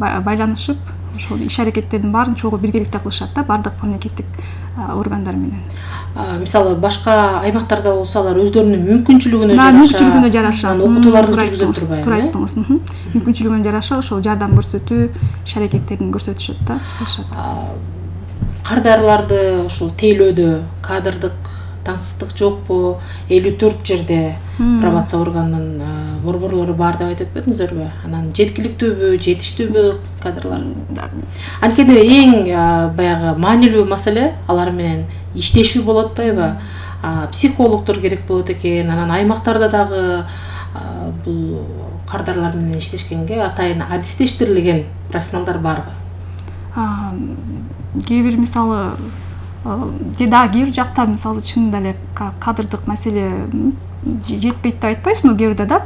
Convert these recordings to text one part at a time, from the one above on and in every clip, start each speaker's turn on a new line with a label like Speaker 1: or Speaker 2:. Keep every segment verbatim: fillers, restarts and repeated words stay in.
Speaker 1: байланышып ошол иш аракеттердин баарын чогуу биргеликте кылышат да бардык мамлекеттик органдар менен.
Speaker 2: Мисалы башка аймактарда болсо алар өздөрүнүн мүмкүнчүлүгүнө
Speaker 1: жараша мүмкүнчүлүгүнө жараша
Speaker 2: окутууларды жүргүзүп турбайбы?
Speaker 1: Туура айттыңыз. Мүмкүнчүлүгүнө жараша ошол жардам көрсөтүү иш аракеттерин көрсөтүшөт да, кылышат.
Speaker 2: Кардарларды ушул тейлөөдө кадрдык таңсыздык жокпу? элүү төрт жерде пробация органынын борборлору бар деп айтып өтпөдүңүзөрбү? Анан жеткиликтүүбү, жетиштүүбү кадрлар? Анткени эң баягы маанилүү маселе алар менен иштешүү болуп атпайбы? Психологдор керек болот экен. Анан аймактарда дагы бул кардарлар менен иштешкенге атайын адистештирилген профессионалдар барбы?
Speaker 1: Кээ бир мисалы да кээ бир жакта мисалы чынында эле кадрдык маселе жетпейт деп айтпайбыз, но кээ бирде да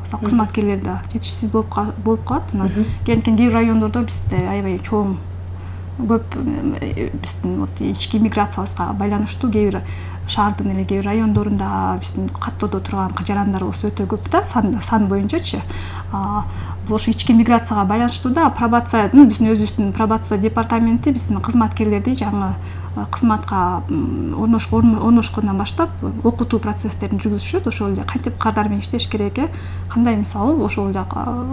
Speaker 1: кызматкерлер да жетишсиз болуп болуп калат. Анан кээ бир райондордо бизде аябай чоң көп биздин вот ички миграциябызга байланыштуу кээ бир шаардын эле кээ бир райондорунда биздин каттоодо турган жарандарыбыз өтө көп да, сан сан боюнчачы. Бул ошо ички миграцияга байланыштуу да, пробация, биздин өзүбүздүн пробация департаменти биздин кызматкерлерди жаңы кызматка орношкондон баштап окутуу процесстерин жүргүзүшөт. Ошол эле кантип кардар менен иштеш керек, кандай мисалы ошол жака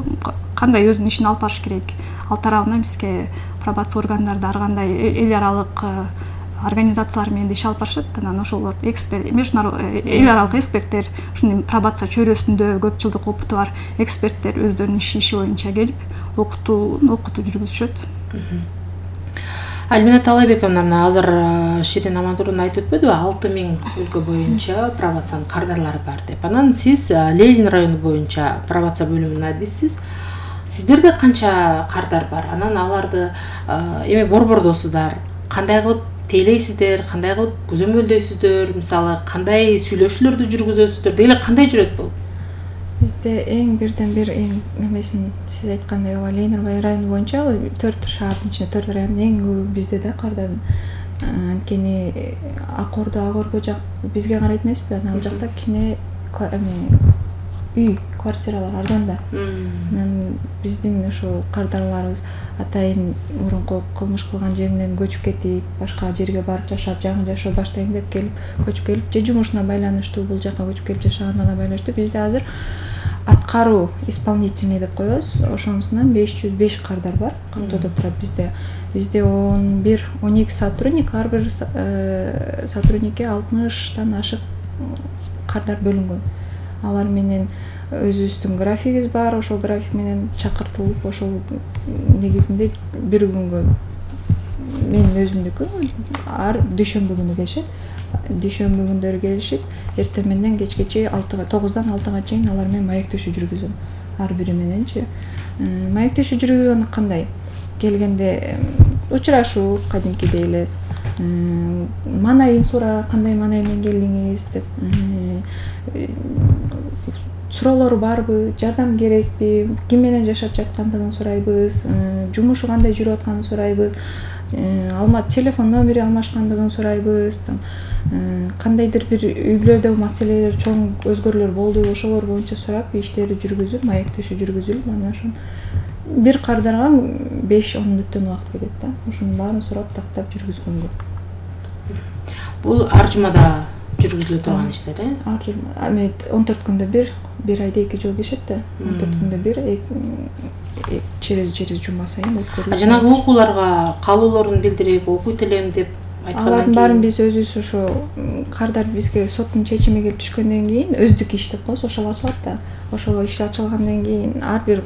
Speaker 1: кандай өзүнүн ишин алып барыш керек. Ал тарабынан бизге пробация органдары ар кандай эл аралык организациялар менен иш алып барышат. Анан ошолор эксперт, эл аралык эксперттер, ушундый пробация чөйрөсүндө көп жылдык опыту бар эксперттер өздөрүнүн иши боюнча келип окутуу окутуу жүргүзүшөт.
Speaker 2: Альмина Талайбековна, мына азыр Ширин Амантурдун айтып өтпөдүбү, алты миң өлкө боюнча пробациянын кардарлары бар деп. Анан сиз Ленин району боюнча пробация бөлүмүнүн адисисиз. Сиздерде канча кардар бар? Анан аларды эми борбордосуздар, кандай кылып тейлейсиздер, кандай кылып көзөмөлдөйсүздөр, мисалы кандай сүйлөшүүлөрдү жүргүзөсүздөр, деги кандай жүрөт бул?
Speaker 3: Бизде эң бирден бир эң немесин сиз айткандай ооба Ленин району боюнча төрт шаардын ичинде төрт райондун эң көбү бизде да кардардын. Анткени Акордо, Агорго жак бизге карайт эмеспи? Анан ал жакта кичине үй, квартиралар арзан да. Анан биздин ошол кардарларыбыз атайын мурунку кылмыш кылган жеринен көчүп кетип, башка жерге барып жашап, жаңы жашоо баштайм деп келип, көчүп келип, же жумушуна байланыштуу бул жака көчүп келип жашаганына байланыштуу бизде азыр аткаруу исполнительный деп коебуз. Ошонусунан беш жүз беш кардар бар. Кантоодо турат бизде. Бизде он бир он эки сотрудник, ар бир сотрудникке алтымыштан ашык кардар бөлүнгөн. Алар менен өзүбүздүн графигибиз бар, ошол график менен чакыртылып, ошол негизинде бир күнгө менин өзүмдүкү ар дүйшөмбү күнү келишет. Дүйшөмбү күндөрү келишип, эртең менен кечкече алтыга, тогуздан алтыга чейин алар менен маектешүү жүргүзөм. Ар бири мененчи. Маектешүү жүргүзгөн кандай? Келгенде учурашуу кадимкидей эле. Манайын сура, кандай манай менен келдиңиз деп. Суроолору барбы, жардам керекпи, ким менен жашап жаткандыгын сурайбыз, жумушу кандай жүрүп атканын сурайбыз, алма телефон номери алмашкандыгын сурайбыз, кандайдыр бир үй бүлөдөгү маселелер, чоң өзгөрүүлөр болду, ошолор боюнча сурап, иштерди жүргүзүп, маектешүү жүргүзүлүп, анан ошон бир кардарга беш он мүнөттөн убакыт кетет да. Ошонун баарын сурап, тактап жүргүзгөнгө.
Speaker 2: Бул ар жумада жүргүзүлө турган иштер, э?
Speaker 3: Ар жума. Эми он төрт күндө бир, бир айда эки жолу келишет да. он төрт күндө бир, через через жума сайын өткөрүлөт.
Speaker 2: Жанагы окууларга калууларын билдирип, окуйт элем деп айткандан кийин.
Speaker 3: Алардын баарын биз өзүбүз ошо кардар бизге соттун чечими келип түшкөндөн кийин өздүк иш деп коебуз, ошол ачылат да. Ошол иш ачылгандан кийин ар бир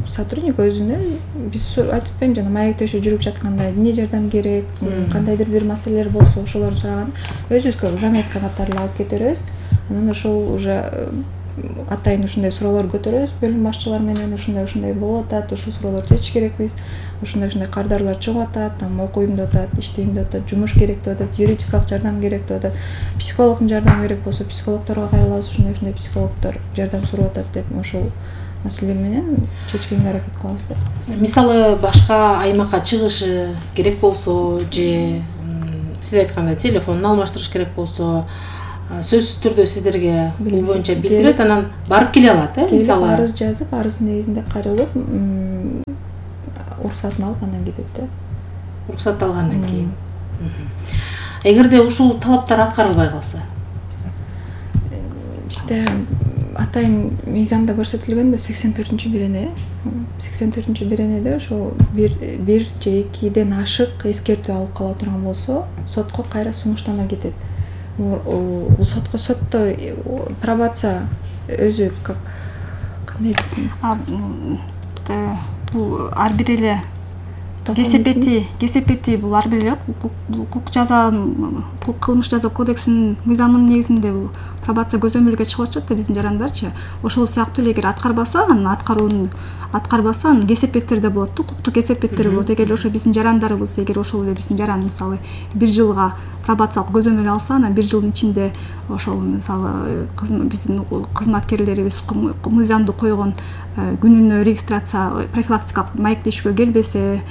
Speaker 3: сотрудник өзүнө биз айтып атпайм жана маектешүү жүрүп жатканда эмне жардам керек, кандайдыр бир маселелер болсо ошолорду сураган өзүбүзгө заметка катары алып кетербиз. Анан ошол уже атайын ушундай суроолор көтөрөбүз бөлүм башчылар менен, ушундай ушундай болуп атат, ушул суроолорду чечиш керекпиз, ушундай ушундай кардарлар чыгып атат, там окуйм деп атат, иштейм деп атат, жумуш керек деп атат, юридикалык жардам керек деп атат, психологдун жардамы керек болсо психологдорго кайрылабыз, ушундай ушундай психологдор жардам сурап атат деп ошол маселе менен чечкенге аракет кылабыз деп.
Speaker 2: Мисалы башка аймакка чыгышы керек болсо же сиз айткандай телефонун алмаштырыш керек болсо сөзсүз түрдө сиздерге бул боюнча билдирет, анан барып келе алат, э?
Speaker 3: Мисалы арыз жазып, арыздын негизинде каралып, уруксатын алып андан кетет да.
Speaker 2: Уруксат алгандан кийин. Эгерде ушул талаптар аткарылбай калса,
Speaker 3: бизде атайын мыйзамда көрсөтүлгөн сексен төртүнчү бирене, сексен төртүнчү биренеде ошол бир бир же экиден ашык эскертүү алып кала турган болсо, сотко кайра сунуштама кетет. Бул сотко сотто пробация өзү как кандай десем,
Speaker 1: бул ар бир эле кесепети кесепети бул ар бир эле укук жаза укук кылмыш жаза кодексинин мыйзамынын негизинде бул пробация көзөмөлгө чыгып атышат да биздин жарандарчы. Ошол сыяктуу эле эгер аткарбаса, анын аткаруун аткарбаса, анын кесепеттери да болот, укуктук кесепеттери болот. Эгер ошо биздин жарандарыбыз, эгер ошол эле биздин жаран мисалы бир жылга пробациялык көзөмөл алса, анан бир жылдын ичинде ошол мисалы биздин кызматкерлерибиз мыйзамды койгон күнүнө регистрация профилактикалык маектешүүгө келбесе,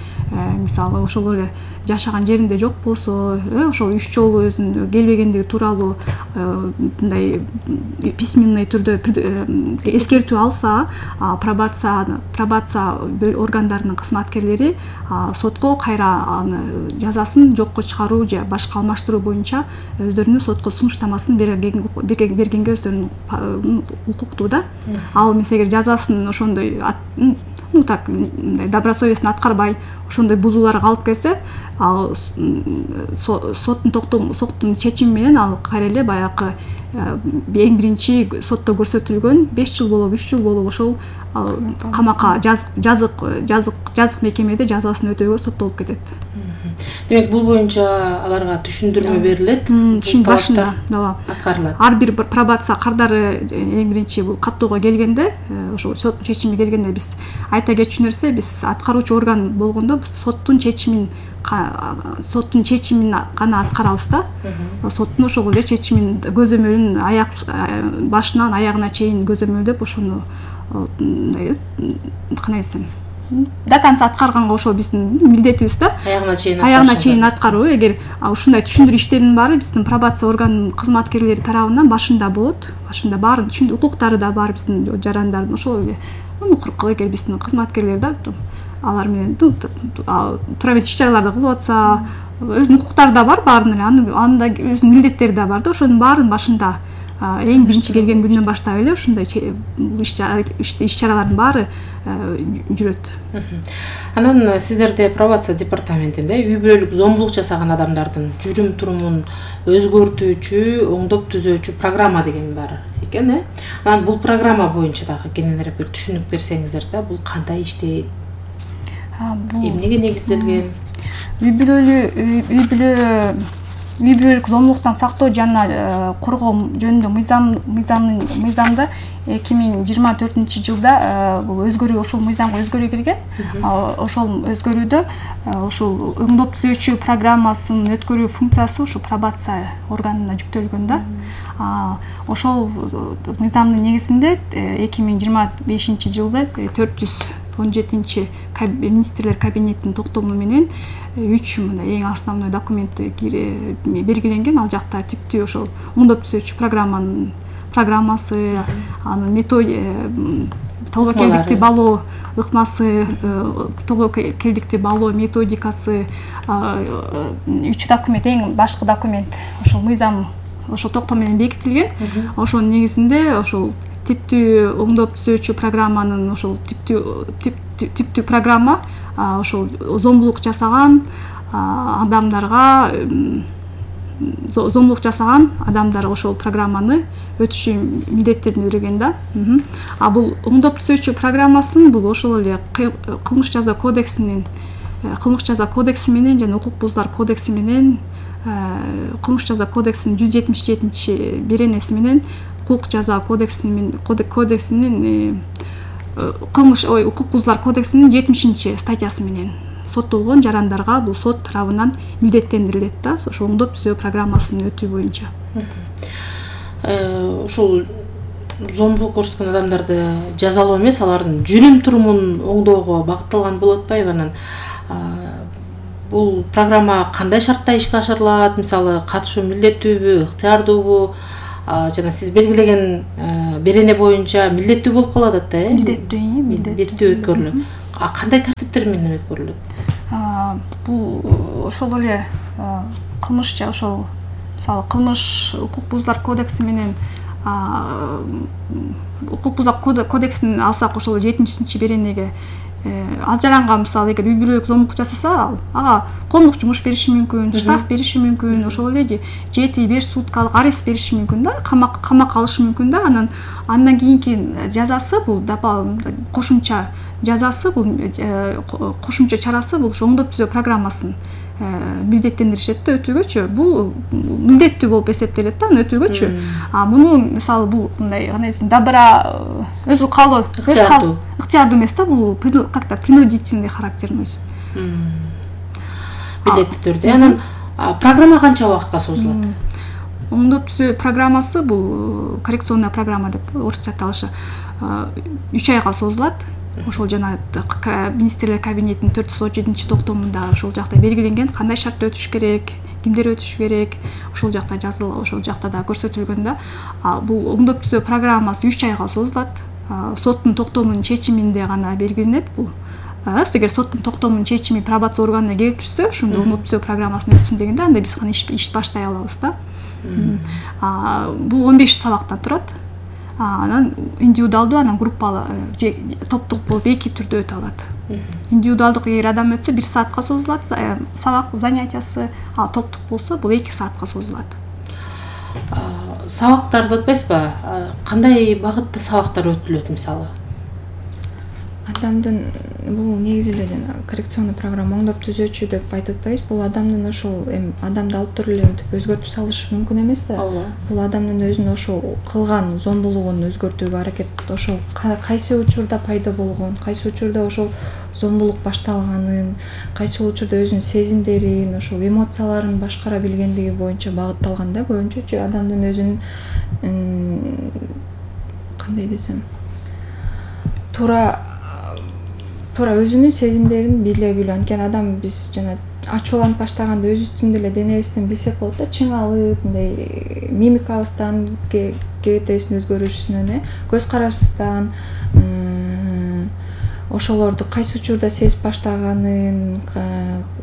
Speaker 1: мисалы ошол эле жашаган жеринде жок болсо, ошол үч жолу өзүнүн келбегендиги тууралуу мындай письменный түрдө эскертүү алса, пробация пробация органдарынын кызматкерлери сотко кайра аны жазасын жокко чыгаруу же башка алмаштыруу боюнча өздөрүнүн сотко сунуштамасын бергенге өздөрүнүн укуктуу да. Ал эмес эгер жазасын ошондой ну так мындай добросовестно аткарбай ошондой бузууларга алып келсе, ал соттун токтом соттун чечими менен ал кайра эле баягы эң биринчи сотто көрсөтүлгөн беш жыл болобу үч жыл болобу ошол камакка жазык жазык жазык мекемеде жазасын өтөөгө соттолуп кетет.
Speaker 2: Демек бул боюнча аларга түшүндүрмө берилет,
Speaker 1: түшүн башында ооба
Speaker 2: аткарылат.
Speaker 1: Ар бир пробация кардары эң биринчи бул каттоого келгенде, ошол соттун чечими келгенде биз айта кетчү нерсе, биз аткаруучу орган болгондо биз соттун чечимин соттун чечимин гана аткарабыз да. Соттун ошол эле чечимин көзөмөлүн аяк башынан аягына чейин көзөмөлдөп ошону мындай кандай десем до конца аткарганга ошол биздин милдетибиз да.
Speaker 2: Аягына чейин
Speaker 1: аягына чейин аткаруу. Эгер ушундай түшүндүрүү иштеринин баары биздин пробация органынын кызматкерлери тарабынан башында болот, башында баарын түшүндү, укуктары да бар биздин жарандардын ошол эле укук эгер биздин кызматкерлер да алар менен туура эмес иш-чараларды кылып атса, өзүнүн укуктары да бар баарынын эле, анын да өзүнүн милдеттери да бар да. Ошонун баарын башында эң биринчи келген күндөн баштап эле ушундай иш-чаралардын баары жүрөт.
Speaker 2: Анан сиздерде пробация департаментинде үй бүлөлүк зомбулук жасаган адамдардын жүрүм турумун өзгөртүүчү, оңдоп түзөөчү программа деген бар экен, э? Анан бул программа боюнча дагы кененирээк бир түшүнүк берсеңиздер да, бул кандай иштейт? Эмнеге негизделген?
Speaker 1: Үй бүлөлүк үй бүлө үй бүлөлүк зомбулуктан сактоо жана коргоо жөнүндө мыйзам мыйзамдын мыйзамда эки миң жыйырма төртүнчү жылда бул өзгөрүү ошол мыйзамга өзгөрүү кирген. Ошол өзгөрүүдө ошол оңдоп түзөөчү программасын өткөрүү функциясы ошол пробация органына жүктөлгөн да. Ошол мыйзамдын негизинде эки миң жыйырма бешинчи жылда төрт жүз он жетинчи министрлер кабинетинин токтому менен үч мындай эң основной документ белгиленген. Ал жакта типтүү ошол оңдоп түзөөчү программанын программасы, анын методия, тобо келдикти балоо ыкмасы, тобо келдикти балоо методикасы, үч документ, эң башкы документ ошол мыйзам ошол токтом менен бекитилген. Ошонун негизинде ошол типтүү оңдоп түзөөчү программанын ошол типтүү типтүү программа ошол зомбулук жасаган адамдарга зомбулук жасаган адамдар ошол программаны өтүшү милдеттендирилген да. А бул оңдоп түзөөчү программасын бул ошол эле кылмыш жаза кодексинин кылмыш жаза кодекси менен жана укук бузуулар кодекси менен кылмыш жаза кодексинин жүз жетимиш жетинчи беренеси менен укук жаза кодексинин кодексинин кылмыш ой укук бузуулар кодексинин жетимишинчи статьясы менен соттолгон жарандарга бул сот тарабынан милдеттендирилет да, ошол оңдоп түзөө программасын өтүү боюнча.
Speaker 2: Ошол зомбулук көрсөткөн адамдарды жазалоо эмес, алардын жүрүм турумун оңдоого багытталган болуп атпайбы? Анан бул программа кандай шартта ишке ашырылат? Мисалы, катышуу милдеттүүбү, ыктыярдуубу? жана сиз белгилеген берене боюнча милдеттүү болуп калып атат да, э?
Speaker 1: Милдеттүү,
Speaker 2: милдеттүү өткөрүлөт. А кандай тартиптер менен өткөрүлөт?
Speaker 1: Бул ошол эле кылмыш же ошол мисалы кылмыш укук бузуулар кодекси менен укук бузуулар кодексин алсак ошол жетимишинчи беренеге алжаранган мисалы эгер үй бүлөлүк зомбулук жасаса ал ага коомдук жумуш бериши мүмкүн, штраф бериши мүмкүн, ошол эле жети беш суткалык арест бериши мүмкүн да, камак камакка алышы мүмкүн да. Анан андан кийинки жазасы бул кошумча жазасы бул кошумча чарасы бул оңдоп түзөө программасын милдеттендиришет да өтүүгөчү. Бул милдеттүү болуп эсептелет да аны өтүүгөчү. А муну мисалы бул мындай кандай десем добра өзү калуу, өз калуу ыктыярдуу эмес да, бул как-то принудительный характерин өзү.
Speaker 2: Милдеттүү түрдө. Анан программа канча убакытка созулат?
Speaker 1: Оңдоп түзөө программасы бул коррекционная программа деп орусча аталышы үч айга созулат. Ошол жана министрлер кабинетинин төрт жүз отуз жетинчи токтомунда ошол жакта белгиленген кандай шартта өтүш керек, кимдер өтүш керек, ошол жакта жазылып, ошол жакта да көрсөтүлгөн да. Бул оңдоп түзөө программасы үч айга созулат. Соттун токтомунун чечиминде гана белгиленет бул. Эгер соттун токтомунун чечими пробация органына келип түшсө, ошондо оңдоп түзөө программасын өтсүн дегенде анда биз гана иш баштай алабыз да. Бул он беш сабактан турат. Анан индивидуалдуу, анан группалуу же топтук болуп эки түрдө өтө алат. Индивидуалдык эгер адам өтсө бир саатка созулат сабак занятиясы, а топтук болсо бул эки саатка созулат.
Speaker 2: Сабактарды өтпөйсүзбү? Кандай багытта сабактар өтүлөт мисалы?
Speaker 3: Адамдын бул негизи эле коррекционный программа оңдоп түзөөчү деп айтып атпайбыз. Бул адамдын ошол эми адамды алып туруп эле мынтип өзгөртүп салыш мүмкүн эмес да. Бул адамдын өзүнүн ошол кылган зомбулугун өзгөртүүгө аракет, ошол кайсы учурда пайда болгон, кайсы учурда ошол зомбулук башталганын, кайсы учурда өзүнүн сезимдерин, ошол эмоцияларын башкара билгендиги боюнча багытталган да. Көбүнчөчү адамдын өзүнүн кандай десем, туура туура өзүнүн сезимдерин биле билүү. Анткени адам биз жана ачууланып баштаганда өзүбүздүн эле денебизден билсек болот да, чыңалып, мындай мимикабыздан, кебетебиздин өзгөрүшүнөн, көз карашыбыздан ошолорду кайсы учурда сезип баштаганын,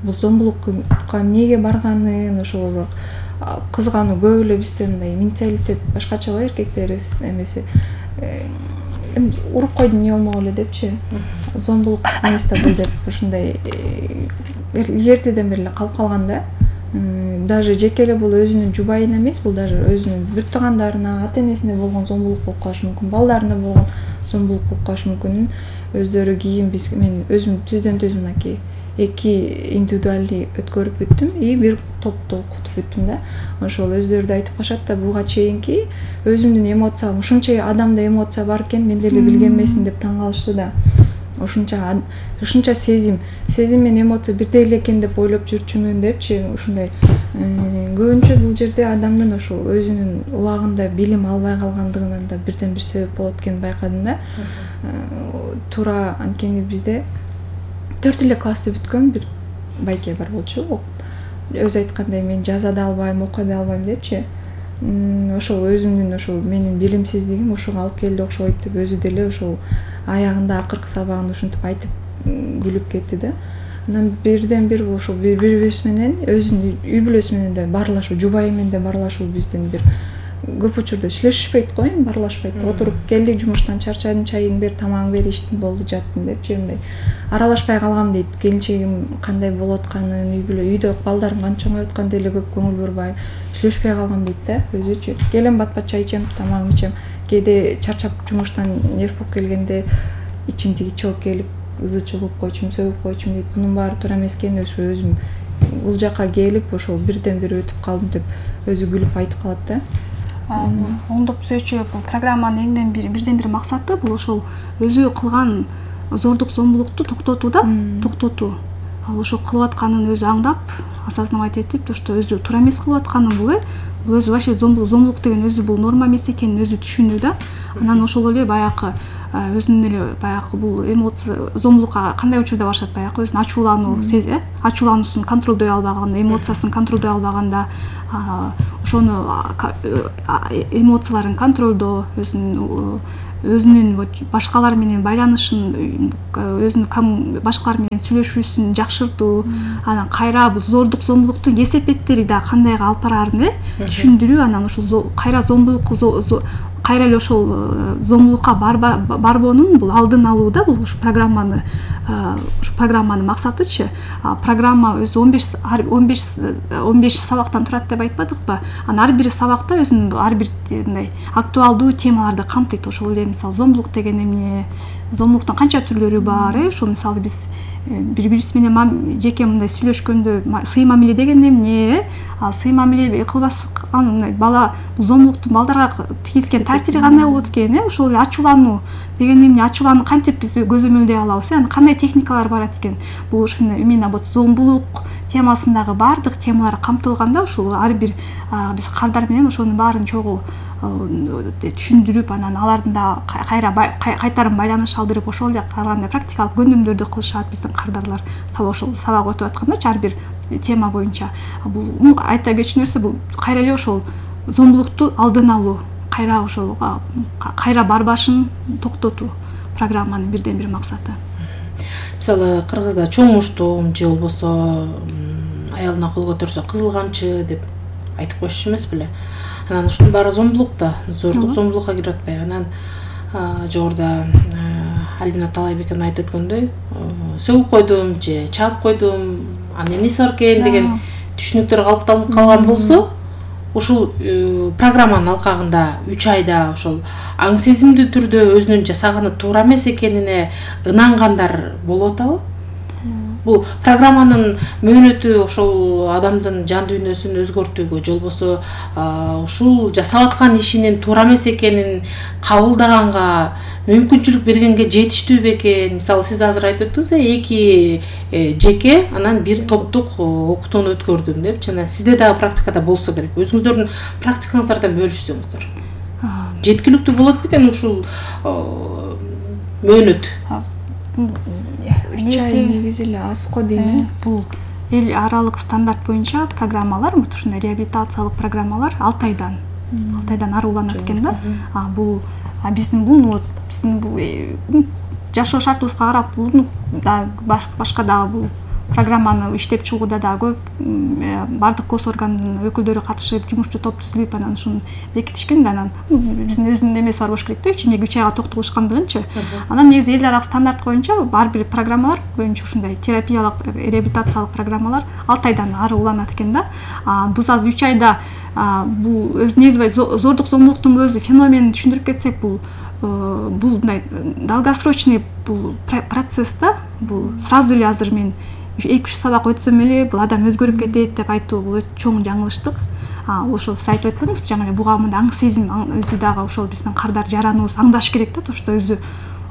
Speaker 3: бул зомбулукка эмнеге барганын, ошол кызгануу көп эле бизде мындай менталитет башкача го, эркектер эмеси уруп койдум эмне болмок эле депчи, зомбулук эмес да бул деп ушундай эртеден бери эле калып калган да. Даже жеке эле бул өзүнүн жубайына эмес, бул даже өзүнүн бир туугандарына, ата энесине болгон зомбулук болуп калышы мүмкүн, балдарына болгон зомбулук болуп калышы мүмкүн. Өздөрү кийин биз мен өзүм түздөн түз мынакей эки индивидуальный өткөрүп бүттүм и бир топту окутуп бүттүм да. Ошол өздөрү да айтып калышат да, буга чейинки өзүмдүн эмоциям ушунча адамда эмоция бар экен, мен деле билген эмесмин деп таң калышты да. Ушунча ушунча сезим, сезим менен эмоция бирдей эле экен деп ойлоп жүрчүмүн депчи. Ушундай көбүнчө бул жерде адамдын ошол өзүнүн убагында билим албай калгандыгынан да бирден бир себеп болот экенин байкадым да. Туура анткени бизде төрт эле классты бүткөн бир байке бар болчу. Өзү айткандай мен жаза да албайм, окуя да албайм депчи. Ошол өзүмдүн ошол менин билимсиздигим ушуга алып келди окшойт деп өзү деле ошол аягында акыркы сабагында ушинтип айтып күлүп кетти да. Анан бирден бир ошол бири-бирибиз менен өзүнүн үй бүлөсү менен да баарлашуу, жубайы менен да баарлашуу биздин бир көп учурда сүйлөшүшпөйт го, эми баарлашпайт. Отуруп келдик жумуштан, чарчадым, чайың бер, тамагың бер, иштим, болду, жаттым депчи. Мындай аралашпай калгам дейт. Келинчегим кандай болуп атканын, үй бүлө, үйдө балдарым канча чоңоюп аткан деле көп көңүл бурбай, сүйлөшпөй калгам дейт да өзүчү. Келем бат-бат чай ичем, тамагымды ичем. Кээде чарчап жумуштан нерв болуп келгенде ичим тиги чогуп келип, ызы чыгып койчумун, сөгүп койчумун дейт. Бунун баары туура эмес экен, ошо өзүм бул жакка келип, ошол бирден бир өтүп калдым деп өзү күлүп айтып калат да.
Speaker 1: Оңдоп түзөөчү программанын эңден бир бирден бир максаты бул ошол өзү кылган зордук зомбулукту токтотуу да, токтотуу. Ал ошо кылып атканын өзү аңдап, осознавать этип, то что өзү туура эмес кылып атканын бул э бул өзү вообще зомбулук зомбулук деген өзү бул норма эмес экенин өзү түшүнүү да. Анан ошол эле баягы өзүнүн эле баягы бул эмоция зомбулукка кандай учурда барышат, баягы өзүнүн ачуулануу сези, ачуулануусун контролдой албаганда, эмоциясын контролдой албаганда, ошону эмоцияларын контролдоо, өзүнүн өзүнүн башкалар менен байланышын, өзүнүн башкалар менен сүйлөшүүсүн жакшыртуу, анан кайра бул зордук зомбулуктун кесепеттери да кандайга алып бараарын түшүндүрүү, анан ошол кайра зомбулук кайра эле ошол зомбулукка барбоонун бул алдын алуу да, бул ушу программаны ушу программанын максатычы. Программа өзү он беш он беш он беш сабактан турат деп айтпадыкпы? Анан ар бир сабакта өзүнүн ар бир мындай актуалдуу темаларды камтыйт. Ошол эле мисалы зомбулук деген эмне, зомбулуктун канча түрлөрү бар, э? Ошо мисалы биз бири бирибиз менен жеке мындай сүйлөшкөндө сый мамиле деген эмне, сый мамиле кылбас анын бала зомбулуктун балдарга тийгизген таасири кандай болот экен, э? Ошол эле ачуулануу деген эмне, ачуулануу кантип биз көзөмөлдөй алабыз, анан кандай техникалар барат экен. Бул ушуну именно вот зомбулук темасындагы баардык темалар камтылганда, ошол ар бир биз кардар менен ошонун баарын чогуу түшүндүрүп, анан алардын да кайра кайтарым байланыш алдырып, ошол эле кандай практикалык көндүмдөрдү кылышат биздин кардарлар. Ошол сабак өтүп аткандачы ар бир тема боюнча. Бул айта кетчү нерсе, бул кайра эле ошол зомбулукту алдын алуу, кайра ошол кайра барбашын токтотуу программанын бирден бир максаты.
Speaker 2: Мисалы кыргызда чоң уштум же болбосо аялына кол көтөрсө кызыл камчы деп айтып коюшчу эмес беле? Анан ушунун баары зомбулук да, зордук зомбулукка кирип атпайбы? Анан жогоруда Альбина Талайбекенин айтып өткөндөй, сөгүп койдум же чаап койдум, анын эмнеси бар экен деген түшүнүктөр калыптанып калган болсо, ушул программанын алкагында үч айда ошол аң сезимдүү түрдө өзүнүн жасаганы туура эмес экенине ынангандар болуп атабы? Бул программанын мөөнөтү ошол адамдын жан дүйнөсүн өзгөртүүгө, же болбосо ушул жасап аткан ишинин туура эмес экенин кабылдаганга мүмкүнчүлүк бергенге жетиштүү бекен? Мисалы сиз азыр айтып өттүңүз, эки жеке анан бир топтук окутууну өткөрдүм депчи. Анан сизде дагы практикада болсо керек. Өзүңүздөрдүн практикаңыздардан бөлүшсөңүздөр. Жеткиликтүү болот бекен ушул мөөнөт?
Speaker 3: үч ай негизи эле аз го дейм.
Speaker 1: Бул эл аралык стандарт боюнча программалар, ушундай реабилитациялык программалар алты айдан алты айдан ары уланат экен да. Бул биздин бул биздин бул жашоо шартыбызга карап, бул да башка дагы бул программаны иштеп чыгууда да көп бардык гос органдын өкүлдөрү катышып, жумушчу топ түзүлүп, анан ушуну бекитишкен да. Анан биздин өзүнүн эмеси бар болуш керек да, эмнеге үч айга токтолушкандыгынчы. Анан негизи эл аралык стандарт боюнча ар бир программалар боюнча ушундай терапиялык, реабилитациялык программалар алты айдан ары уланат экен да. Бул азыр үч айда бул өз негизи зордук зомбулуктун өзү феноменин түшүндүрүп кетсек, бул бул мындай долгосрочный бул процесс да. Бул сразу эле азыр мен эки үч сабак өтсөм эле бул адам өзгөрүп кетет деп айтуу бул чоң жаңылыштык. Ошол сиз айтып өттүңүз, жаңы эле буга мындай аң сезим өзү дагы ошол биздин кардар жараныбыз аңдаш керек да, тошто өзү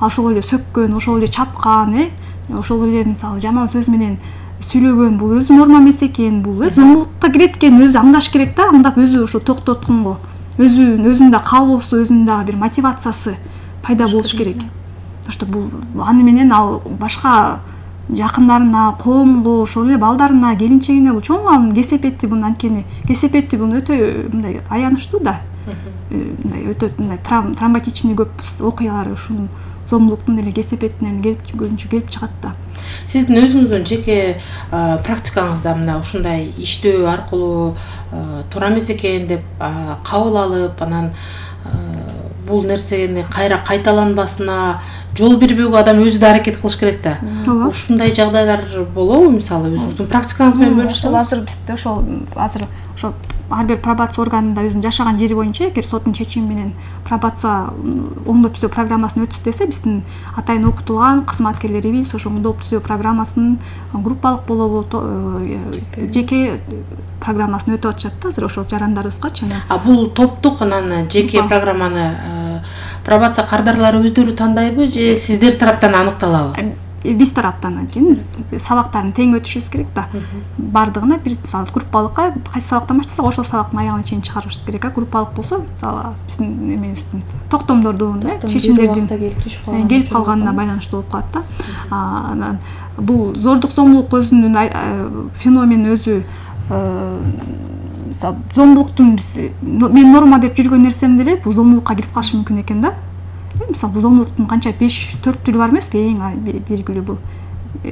Speaker 1: ошол эле сөккөн, ошол эле чапкан, э, ошол эле мисалы жаман сөз менен сүйлөгөн, бул өзү норма эмес экен, бул өзү зомбулукка кирет экен, өзү аңдаш керек да, аңдап өзү ошо токтотконго, өзү өзүндө каалоосу, өзүнүн дагы бир мотивациясы пайда болуш керек. Тошто бул аны менен ал башка жакындарына, коомго, ошол эле балдарына, келинчегине бул чоң анын кесепети, бул анткени кесепети бул өтө мындай аянычтуу да. Мындай өтө мындай травматичный көп окуялар ушул зомбулуктун эле кесепетинен келип көбүнчө келип чыгат да.
Speaker 2: Сиздин өзүңүздүн жеке практикаңызда мына ушундай иштөө аркылуу туура эмес экен деп кабыл алып, анан бул нерсени кайра кайталанбасына жол бербөөгө адам өзү да аракет кылыш керек да. Ушундай жагдайлар болобу? Мисалы өзүңүздүн практикаңыз менен бөлүшсөңүз.
Speaker 1: Азыр бизде ошол азыр ошо ар бир пробация органында өзүнүн жашаган жери боюнча эгер соттун чечими менен пробация оңдоп түзөө программасын өтсө десе, биздин атайын окутулган кызматкерлерибиз ошо оңдоп түзөө программасын группалык болобу, жеке программасын өтүп атышат да азыр ошол жарандарыбызгачы.
Speaker 2: А бул топтук анан жеке программаны пробация кардарлары өздөрү тандайбы же сиздер тараптан аныкталабы?
Speaker 1: биз тараптан анткени сабактарын тең өтүшүбүз керек да. Бардыгына бир мисалы группалыкка кайсы сабактан баштасак ошол сабактын аягына чейин чыгарышыбыз керек. А группалык болсо мисалы биздин эмебиздин токтомдордун, чечимдердин келип калганына байланыштуу болуп калат да. Анан бул зордук зомбулук өзүнүн феномени өзү мисалы зомбулуктун биз мен норма деп жүргөн нерсем деле бул зомбулукка кирип калышы мүмкүн экен да. Мисалы бул зомбулуктун канча беш төрт түрү бар эмеспи? Эң белгилүү бул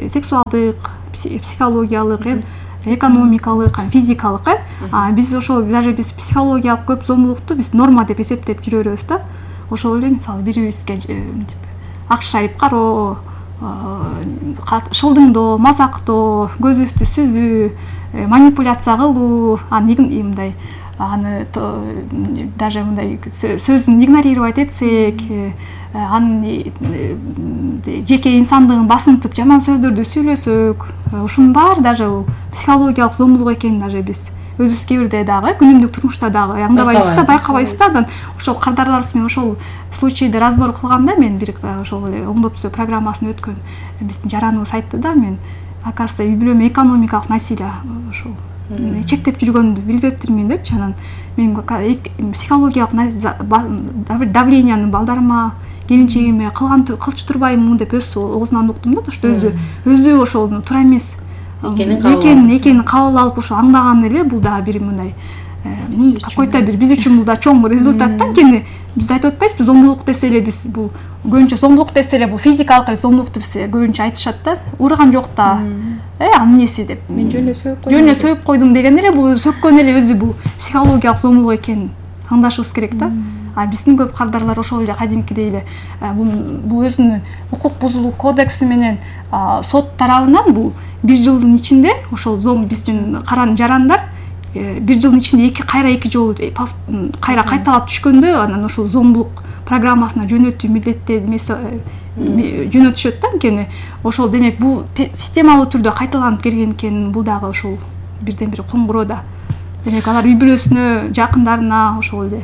Speaker 1: сексуалдык, психологиялык, экономикалык, физикалык. А биз ошол даже биз психологиялык көп зомбулукту биз норма деп эсептеп жүрө беребиз да. Ошол эле мисалы бирибизге акшайып кароо, шылдыңдоо, мазактоо, көзүбүздү сүзүү, манипуляция кылуу, аны мындай аны даже мындай сөзүн игнорировать этсек, анын жеке инсандыгын басынтып жаман сөздөрдү сүйлөсөк, ушунун баары даже психологиялык зомбулук экенин даже биз өзүбүз кээ бирде дагы күнүмдүк турмушта дагы аңдабайбыз да, байкабайбыз да. Анан ошол кардарларыбыз менен ошол случайды разбор кылганда мен бир ошол эле оңдоп түзөө программасын өткөн биздин жараныбыз айтты да, мен оказывается үй бүлөмө экономикалык насилие ошол чектеп жүргөндү билбептирмин депчи. Анан мен психологиялык давленияны балдарыма, келинчегиме кылган кылчу турбаймынбы деп өз оозунан уктум да. Ошо өзү өзү ошол туура эмес экенин экенин кабыл алып ошо аңдаган эле бул дагы бир мындай какой-то бир биз үчүн бул да чоң результат да. Анткени биз айтып атпайбызбы, зомбулук десе эле биз бул көбүнчө зомбулук десе эле бул физикалык эле зомбулукту биз көбүнчө айтышат да. Урган жок да, э анын неси деп.
Speaker 3: Мен жөн эле сөйүп койдум.
Speaker 1: Жөн эле сөйүп койдум деген эле бул сөккөн эле өзү бул психологиялык зомбулук экенин аңдашыбыз керек да. А биздин көп кардарлар ошол эле кадимкидей эле бул өзүнүн укук бузулуу кодекси менен сот тарабынан бул бир жылдын ичинде ошол зом биздин каран жарандар бир жылдын ичинде эки кайра эки жолу кайра кайталап түшкөндө анан ошол зомбулук программасына жөнөтүү милдеттер эмеси жөнөтүшөт да. Анткени ошол демек бул системалуу түрдө кайталанып келген экен. Бул дагы ошол бирден бир коңгуроо да. Демек алар үй бүлөсүнө, жакындарына, ошол эле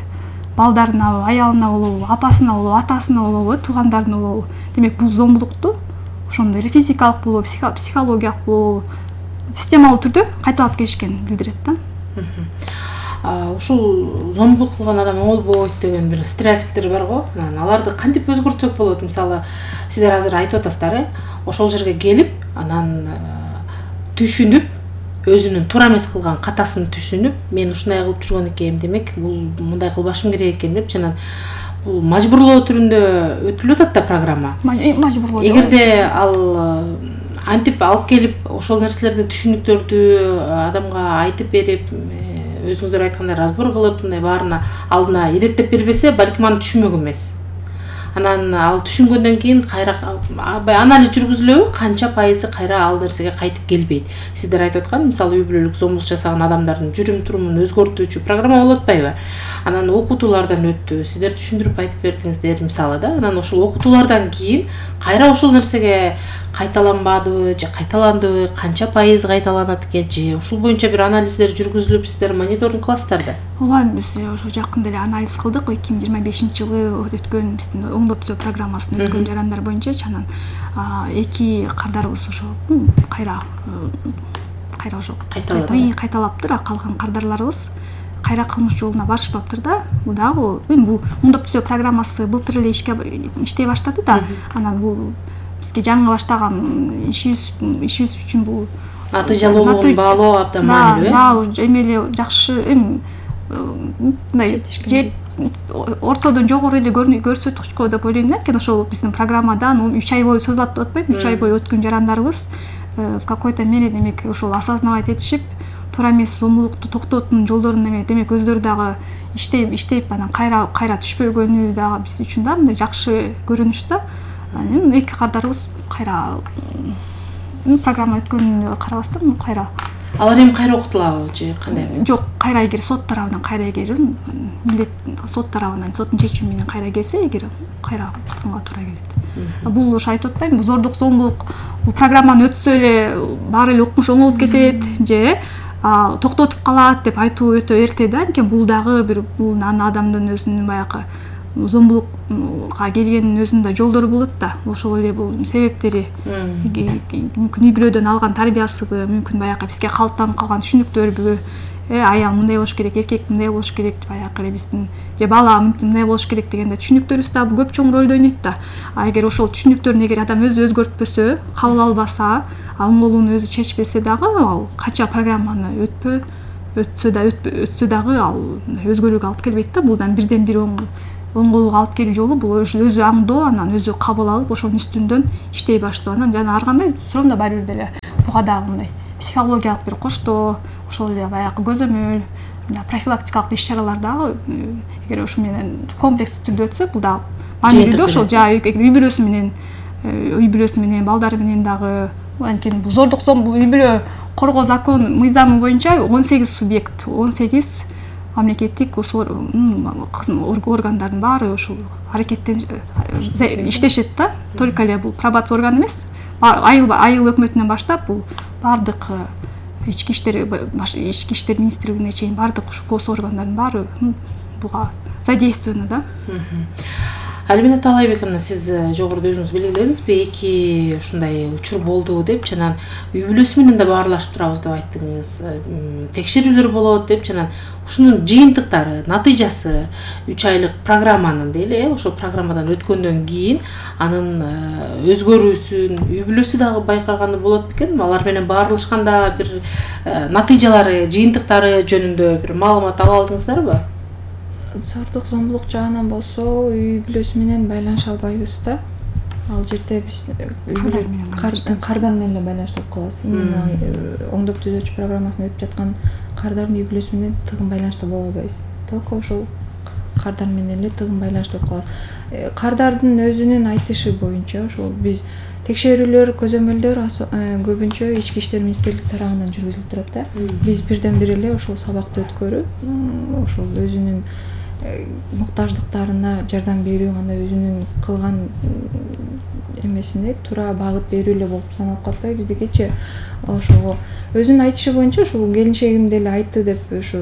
Speaker 1: балдарына, аялына болобу, апасына болобу, атасына болобу, туугандарына болобу, демек бул зомбулукту ошондой эле физикалык болобу, психологиялык болобу системалуу түрдө кайталап келишкенин билдирет да.
Speaker 2: Ушул зомбулук кылган адам оңолбойт деген бир стереотиптер бар го. Анан аларды кантип өзгөртсөк болот? Мисалы, сиздер азыр айтып атасыздар, э? Ошол жерге келип, анан түшүнүп, өзүнүн туура эмес кылган катасын түшүнүп, мен ушундай кылып жүргөн экенмин, демек бул мындай кылбашым керек экен деп, жана бул мажбурлоо түрүндө өтүлүп атат да программа.
Speaker 1: Мажбурлоо.
Speaker 2: Эгерде ал антип алып келип ошол нерселерди, түшүнүктөрдү адамга айтып берип, өзүңүздөр айткандай разбор кылып, мындай баарына алдына иреттеп бербесе, балким аны түшүнмөк эмес. Анан ал түшүнгөндөн кийин кайра анализ жүргүзүлөбү, канча пайызы кайра ал нерсеге кайтып келбейт. Сиздер айтып аткан, мисалы үй бүлөлүк зомбулук жасаган адамдардын жүрүм турумун өзгөртүүчү программа болуп атпайбы? Анан окутуулардан өттү, сиздер түшүндүрүп айтып бердиңиздер мисалы да. Анан ошол окутуулардан кийин кайра ошол нерсеге кайталанбадыбы же кайталандыбы, канча пайыз кайталанат экен же ушул боюнча бир анализдер жүргүзүлүп сиздер мониторинг кыласыздар да?
Speaker 1: Ооба, биз ошо жакында эле анализ кылдык. эки миң жыйырма бешинчи жылы өткөн биздин оңдоп түзөө программасын өткөн жарандар боюнча. Анан эки кардарыбыз ошо кайра кайра ошо кайталаптыр, а калган кардарларыбыз кайра кылмыш жолуна барышпаптыр да. Бул дагы бул оңдоп түзөө программасы былтыр эле ишке иштей баштады да. Анан бул бизге жаңы баштаган ишибиз ишибиз үчүн бул
Speaker 2: натыйжалуулугун баалоо абдан маанилүү.
Speaker 1: Да, эми эле жакшы эми мындай ортодон жогору эле көрсөткүчкө деп ойлойм да. Анткени ошол биздин программадан үч ай бою созулат деп атпайбы? үч ай бою өткөн жарандарыбыз в какой-то мере демек ошол осознавать этишип, туура эмес зомбулукту токтоотун жолдорун эме демек өздөрү дагы иштеп иштеп анан кайра кайра түшпөгөнү дагы биз үчүн да мындай жакшы көрүнүш да. Эми эки кардарыбыз кайра программа өткөнүнө карабастан кайра
Speaker 2: алар эми кайра окутулабы же кандай?
Speaker 1: Жок, кайра эгер сот тарабынан кайра эгер милдет сот тарабынан соттун чечими менен кайра келсе, эгер кайра окутканга туура келет. Бул ошо айтып атпаймынбы, зордук зомбулук бул программаны өтсө эле баары эле укмуш оңолуп кетет же токтотуп калат деп айтуу өтө эрте да. Анткени бул дагы бир бул адамдын өзүнүн баягы зомбулукка келгенин өзүнүн да жолдору болот да. Ошол эле бул себептери мүмкүн үй бүлөдөн алган тарбиясыбы, мүмкүн баягы бизге калыптанып калган түшүнүктөрбү, э аял мындай болуш керек, эркек мындай болуш керек деп баягы эле биздин же бала мындай болуш керек дегенде түшүнүктөрүбүз да көп чоң ролду ойнойт да. А эгер ошол түшүнүктөрүн эгер адам өзү өзгөртпөсө, кабыл албаса, оңголууну өзү чечпесе дагы ал канча программаны өтпө өтсө да өтсө дагы ал өзгөрүүгө алып келбейт да. Бул да бирден бир оңголууга алып келүү жолу бул өзү аңдоо, анан өзү кабыл алып ошонун үстүндөн иштей баштоо. Анан жана ар кандай суроомдо баары бир деле буга дагы мындай психологиялык бир коштоо, ошол эле баягы көзөмөл, профилактикалык иш-чаралар дагы эгер ошо менен комплекстүү түрдө өтсө, бул да маанилүү ошол жа үй бүлөсү менен үй бүлөсү менен балдары менен дагы. Анткени бул зордук зом бул үй бүлө коргоо закон мыйзамы боюнча он сегиз субъект, он сегиз мамлекеттик органдардын баары ошол аракеттен иштешет да. Только эле бул пробация органы эмес, айыл айыл өкмөтүнөн баштап бул бардык ички иштер ички иштер министрлигине чейин бардык гос органдардын баары буга задействованы да.
Speaker 2: Альбина Таалайбековна, сиз жогоруда өзүңүз белгиледиңизби, эки ушундай учур болду деп, жана үй бүлөсү менен да баарлашып турабыз деп айттыңыз. Текшерүүлөр болот деп, жана ушунун жыйынтыктары, натыйжасы үч айлык программанын дейли, ошол программадан өткөндөн кийин анын өзгөрүүсүн үй бүлөсү дагы байкаганы болот бекен. Алар менен баарлашканда бир натыйжалары, жыйынтыктары жөнүндө бир маалымат ала алдыңыздарбы?
Speaker 3: Зордук зомбулук жагынан болсо үй бүлөсү менен байланыша албайбыз да. Ал жерде биз кардар менен байланыштуу болуп калабыз. Именно оңдоп түзөөчү программасына өтүп жаткан кардардын үй бүлөсү менен тыгын байланышта боло албайбыз. Только ошол кардар менен эле тыгын байланыштуу болуп калат. Кардардын өзүнүн айтышы боюнча ошол биз текшерүүлөр, көзөмөлдөр көбүнчө ички иштер министрлиги тарабынан жүргүзүлүп турат да. Биз бирден бир эле ошол сабакты өткөрүп, ошол өзүнүн муктаждыктарына жардам берүү, анда өзүнүн кылган эмесине туура багыт берүү эле болуп саналып калбайбы биздикичи. Ошого өзүнүн айтышы боюнча ушул келинчегим деле айтты деп ушу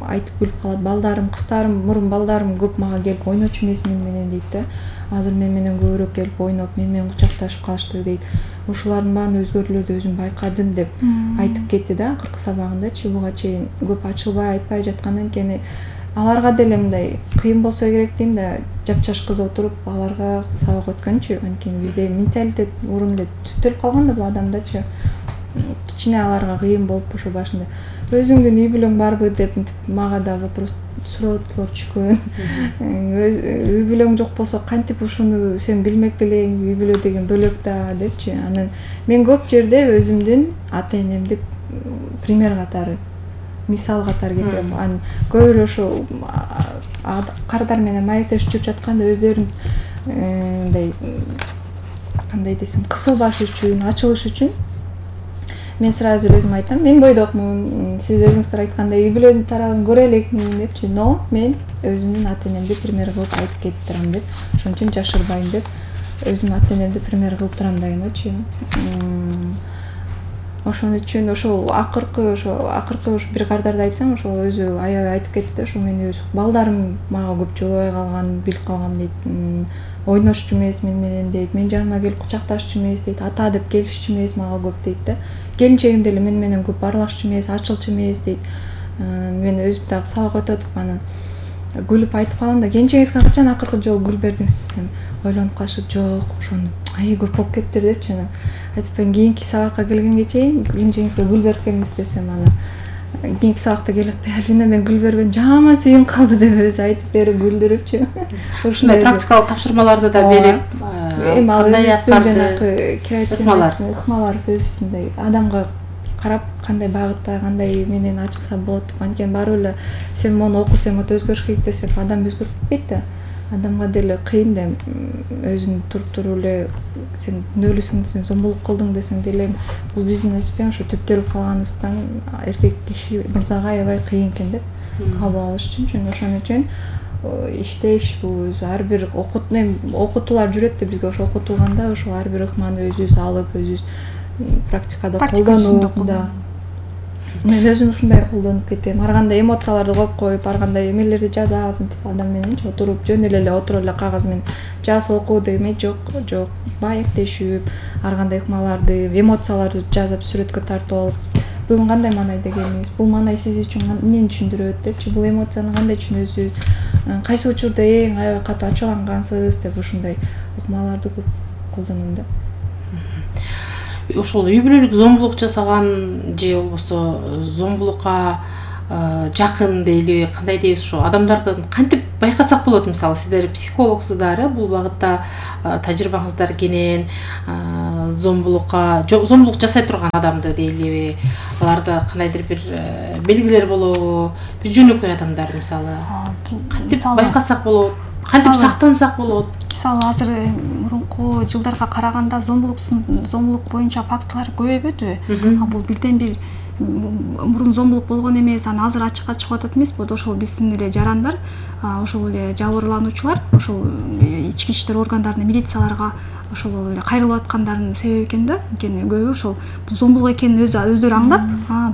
Speaker 3: айтып күлүп калат. Балдарым, кыздарым, мурун балдарым көп мага келип ойночу эмес мен менен дейт да. Азыр мен менен көбүрөөк келип ойноп, мен менен кучакташып калышты дейт. Ушулардын баарын өзгөрүүлөрдү өзүм байкадым деп айтып кетти да акыркы сабагындачы. Буга чейин көп ачылбай айтпай жаткандан кийин аларга деле мындай кыйын болсо керек дейм да, жапчаш кыз отуруп аларга сабак өткөнчү. Анткени бизде менталитет мурун эле түптөлүп калган да бул адамдачы. Кичине аларга кыйын болуп ошо башында өзүңдүн үй бүлөң барбы деп мага да вопрос суроодлор түшкөн. Үй бүлөң жок болсо кантип ушуну сен билмек белең, үй бүлө деген бөлөк да депчи. Анан мен көп жерде өзүмдүн ата энемди пример катары, мисал катары кетирем. Анан көбүрөөк ошо кардар менен маектешип жүрүп жатканда өздөрүн мындай кандай десем кысылбаш үчүн, ачылыш үчүн мен сразу өзүм айтам, мен бойдокмун, сиз өзүңүздөр айткандай үй бүлөнүн тарабын көрө элекмин депчи. Но мен өзүмдүн ата энемди пример кылып айтып кетип турам деп, ошон үчүн жашырбайм деп өзүмдүн ата энемди пример кылып турам дайымачы. Ошон үчүн ошол акыркы ошо акыркы ушу бир кардарды айтсам, ошол өзү аябай айтып кетти да, ошо мен өз балдарым мага көп жолобой калган, билип калгам дейт. Ойношчу эмес мен менен дейт. Мен жаныма келип кучакташчу эмес дейт. Ата деп келишчү эмес мага көп дейт да. Келинчегим деле мен менен көп баарлашчу эмес, ачылчу эмес дейт. Мен өзүм дагы сабак өтүп атып анан күлүп айтып калам да, келинчегиңизге качан акыркы жолу гүл бердиңиз десем, ойлонуп калышып, жок, ошону ай көп болуп кетиптир депчи. Анан айтып берем, кийинки сабакка келгенге чейин келинчегиңизге гүл берип келиңиз десем, анан кийинки сабакта келип атпай, Альбина мен гүл бербедим, жаман сүйүм калды деп өзү айтып берип күлдүрүпчү.
Speaker 2: Ушундай практикалык тапшырмаларды да берип,
Speaker 3: эми ал өзүнүн жанагы креативдүү ыкмалар сөз үстүндө адамга карап кандай багытта, кандай менен ачылса болот деп. Анткени баары эле сен мону оку, сен мону өзгөрүш керек десек, адам өзгөрүп кетпейт да. Адамга деле кыйын да, өзүн туруп туруп эле сен күнөөлүүсүң, сен зомбулук кылдың десең деле, бул биздин өспен ошо түптөлүп калганыбыздан эркек киши мырзага аябай кыйын экен деп кабыл алыш үчүн. Ошон үчүн иштеш бул өзү ар бир окутуулар жүрөт да бизге. Ошо окутулганда ошо ар бир ыкманы өзүбүз алып, өзүбүз практикада колдонуп да. Мен өзүм ушундай колдонуп кетем. Ар кандай эмоцияларды коюп коюп, ар кандай эмелерди жазап, мынтип адам мененчи отуруп, жөн эле эле отуруп эле кагаз менен жаз окуу деме жок, жок. Маектешип, ар кандай ыкмаларды, эмоцияларды жазып, сүрөткө тартып алып, бүгүн кандай маанайда келдиңиз? Бул маанай сиз үчүн эмнени түшүндүрөт депчи, бул эмоцияны кандай түшүнөсүз? Кайсы учурда эң аябай катуу ачуулангансыз деп ушундай ыкмаларды көп колдоном да.
Speaker 2: Ошол үй бүлөлүк зомбулук жасаган же болбосо зомбулукка жакын дейли, кандай дейбиз, ошо адамдардан кантип байкасак болот? Мисалы сиздер психологсуздар, бул багытта тажрыйбаңыздар кенен, зомбулукка зомбулук жасай турган адамды дейлиби, аларда кандайдыр бир белгилер болобу? Биз жөнөкөй адамдар мисалы кантип байкасак болот? Кантип сактансак болот?
Speaker 1: Мисалы азыр мурунку жылдарга караганда зомбулук зомбулук боюнча фактылар көбөйбөдүбү? Бул бирден бир мурун зомбулук болгон эмес, аны азыр ачыкка чыгып атат эмеспи? Ошол биздин эле жарандар, ошол эле жабырлануучулар ошол ички иштер органдарына, милицияларга ошол эле кайрылып аткандарынын себеби экен да. Анткени көбү ошол бул зомбулук экенин өзү өздөрү аңлап,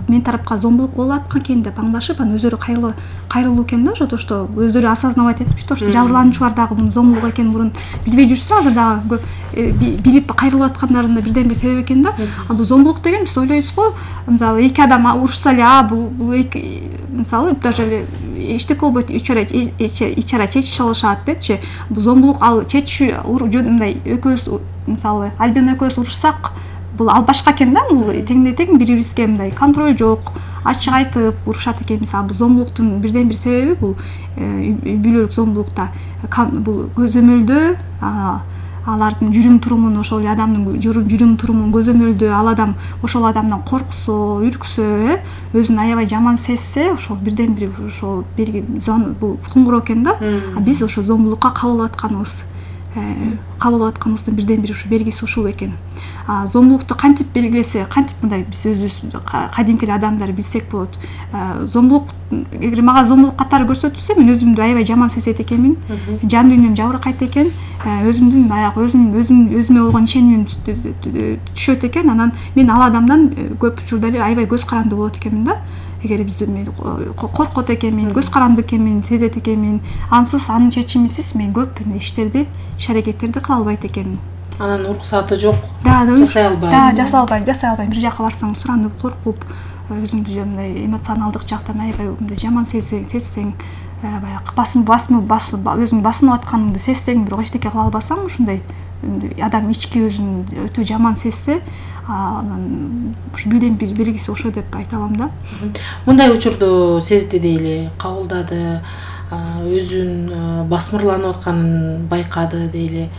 Speaker 1: мен тарапка зомбулук болуп аткан экен деп аңлашып, анан өздөрү кайрылуу кайрылуу экен да. Ошо что өздөрү осознавать этип, что жабырлануучулар дагы мунун зомбулук экенин мурун билбей жүрсө, азыр дагы билип кайрылып аткандарынын ден бир себеби экен да. А бул зомбулук деген биз ойлойбуз го, мисалы эки адам урушса эле, а бул мисалы даже эле эчтеке болбойт, ичара чечише алышат депчи. Бул зомбулук ал чечүү мындай экөөбүз мисалы Альбина экөөбүз урушсак, бул ал башка экен да. Бул теңдей тең бири-бирибизге мындай контроль жок, ачык айтып урушат экен. Мисалы бул зомбулуктун бирден бир себеби бул үй бүлөлүк зомбулукта бул көзөмөлдөө, алардын жүрүм турумун, ошол эле адамдын жүрүм турумун көзөмөлдөө, ал адам ошол адамдан корксо, үрксө, өзүн аябай жаман сезсе, ошол бирден бир ошол белги бул куңгуроо экен да. Биз ошо зомбулукка кабыл атканыбыз кабыл атканыбыздын бирден бир ушу белгиси ушул экен. Зомбулукту кантип белгилесе, кантип мындай биз өзүбүз кадимки адамдар билсек болот. Зомбулук, эгер мага зомбулук катары көрсөтүлсө, мен өзүмдү аябай жаман сезет экенмин. Жан дүйнөм жабыркайт экен. Өзүмдүн баягы өзүм өзүм өзүмө болгон ишенимим түшөт экен. Анан мен ал адамдан көп учурда эле аябай көз каранды болот экенмин да. Эгер биз коркот экенмин, көз каранды экенмин, сезет экенмин, ансыз анын чечимисиз мен көп иштерди, иш аракеттерди кыла албайт экенмин.
Speaker 2: Анан уруксаты жок, жасай албайм.
Speaker 1: Да, жасай албайм, жасай албайм. Бир жака барсаң суранып, коркуп, өзүңдү мындай эмоционалдык жактан аябай мындай жаман сезсең, баягы басым басым өзүң басынып атканыңды сезсең, бирок эчтеке кыла албасаң, ушундай адам ички өзүн өтө жаман сезсе, анан ушу бирден бир белгиси ошо деп айта алам да.
Speaker 2: Мындай учурду сезди дейли, кабылдады, өзүн басмырланып атканын байкады дейли,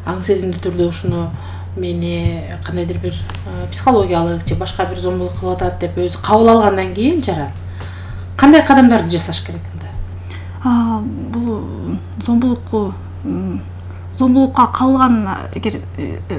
Speaker 2: аң сезимдүү түрдө ушуну мени кандайдыр бир психологиялык же башка бир зомбулук кылып атат деп өзү кабыл алгандан кийин жаран кандай кадамдарды жасаш керек анда?
Speaker 1: Бул зомбулукку зомбулукка кабылган, эгер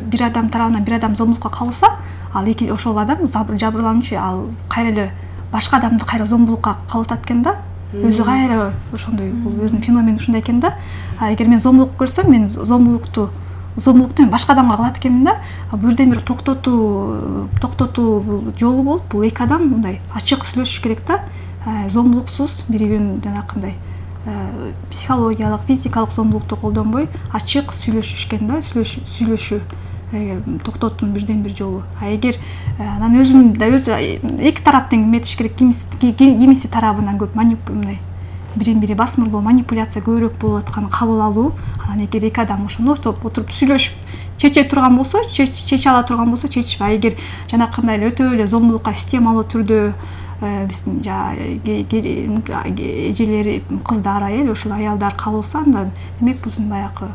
Speaker 1: бир адам тарабынан бир адам зомбулукка кабылса, ал эки ошол адам жабырлануучу, ал кайра эле башка адамды кайра зомбулукка кабылтат экен да. Өзү кайра ошондой, бул өзүнүн феномени ушундай экен да. Эгер мен зомбулук көрсөм, мен зомбулукту зомбулукту мен башка адамга кылат экенмин да. Бирден бир токтотуу токтотуу жолу болуп, бул эки адам мындай ачык сүйлөшүш керек да. Зомбулуксуз бири-бирин жанакындай психологиялык, физикалык зомбулукту колдонбой ачык сүйлөшүш экен да, сүйлөшүү. Эгер токтотуунун бирден бир жолу. А эгер анан өзүн да өзү эки тараптын эметиш керек, кимиси тарабынан көп манипуляция, бири-бири басмырлоо, манипуляция көбүрөөк болуп атканын кабыл алуу. Анан эгер эки адам ошондо отуруп сүйлөшүп чече турган болсо, чече ала турган болсо чечип, а эгер жанакындай эле өтө эле зомбулукка системалуу түрдө биздин эжелери, кыздар, аял, ошол аялдар кабылса, анда демек биздин баягы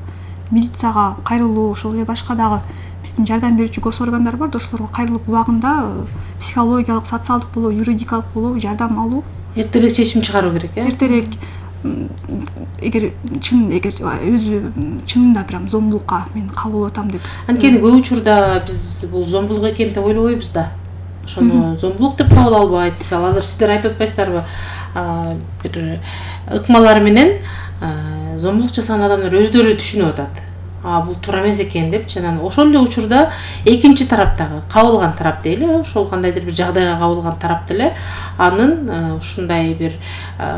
Speaker 1: милицияга кайрылуу, ошол эле башка дагы биздин жардам берүүчү гос органдар бар да, ошолорго кайрылып убагында психологиялык, социалдык болобу, юридикалык болобу жардам алуу.
Speaker 2: Эртерээк чечим чыгаруу керек, э?
Speaker 1: Эртерээк, эгер чын эгер өзү чынында прям зомбулукка мен кабыл атам деп.
Speaker 2: Анткени көп учурда биз бул зомбулук экен деп ойлобойбуз да. Ошону зомбулук деп кабыл албайт. Мисалы азыр сиздер айтып атпайсыздарбы? Бир ыкмалар менен зомбулук жасаган адамдар өздөрү түшүнүп атат. бул туура эмес экен депчи. Анан ошол эле учурда экинчи тараптагы кабылган тарап дейли, ошол кандайдыр бир жагдайга кабылган тарап деле анын ушундай бир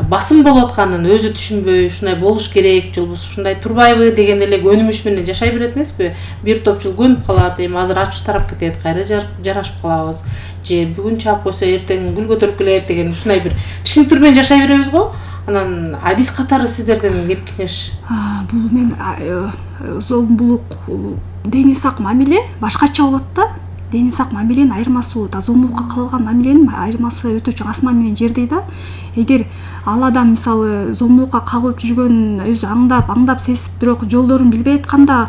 Speaker 2: басым болуп атканын өзү түшүнбөй, ушундай болуш керек, же болбосо ушундай турбайбы деген эле көнүмүш менен жашай берет эмеспи? Бир топ жыл көнүп калат, эми азыр ачуу тарап кетет, кайра жарашып калабыз, же бүгүн чаап койсо эртең гүл көтөрүп келет деген ушундай бир түшүнүктөр менен жашай беребиз го. Анан адис катары сиздерден кеп кеңеш?
Speaker 1: Бул мен зомбулук дени сак мамиле башкача болот да. Дени сак мамиленин айырмасы да зомбулукка кабылган мамиленин айырмасы өтө чоң, асман менен жердей да. Эгер ал адам мисалы зомбулукка кабылып жүргөн өзү аңдап аңдап сезип бирок жолдорун билбей атканда,